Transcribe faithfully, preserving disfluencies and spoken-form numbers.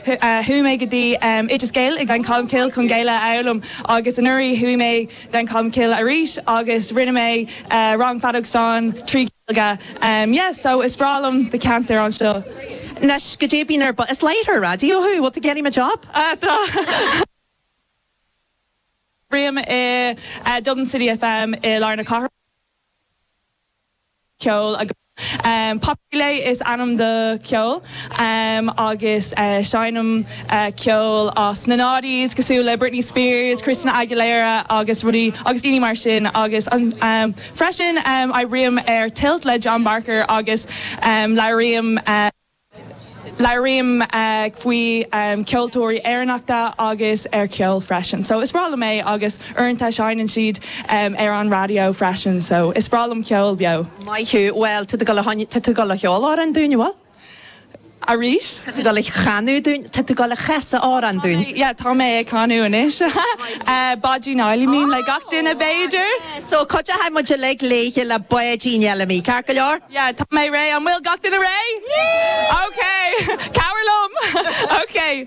Chuaigh mé go dtí Oideas Gael ag Gleann Cholm Cille chun Gaeilge a fhoghlaim agus anuraidh chuaigh mé Gleann Cholm Cille arís agus rinne mé rang feadóg stáin trí Ghaeilge. Yeah, so is breá liom do cheantar anseo. Anois go dtí bíonn ar is láithreoir raidió thú, bhfuil tú getting a job? Oibrím i Dublin City FM i lár na cathrach ceol agus um, Populé is ainm do ceol um, agus uh, seinnim uh, ceol as na noughties cosúil le Britney Spears, Christina Aguilera agus rudaí agus daoine mar sin agus um, um, freisin um, oibrím ar Tilt le John Barker agus um, labhraím uh, Labhraím uh, faoi um, ceoltóirí Éireannacha agus ar ceol freisin. So is breá liom é agus uaireanta seinneann siad um, ar an raidió freisin, so is breá liom ceol beo. Maith thú well tá tú ag gabháil a cheol amhrán dúinn bhfuil? Arís? Tá tú ag gabháil a chanadh dúinn tá tú ag gabháil a chasadh amhrán dúinn. Yeah, tá mé ag canadh anois. uh, Báidín Fheidhlimí le gach duine b'fhéidir. So cuideoidh muid le léithe le Báidín Fheidhlimí, Ceart go leor? Yeah, tá mé réidh an bhfuil gach duine réidh? Okay, Cabhair liom. Okay.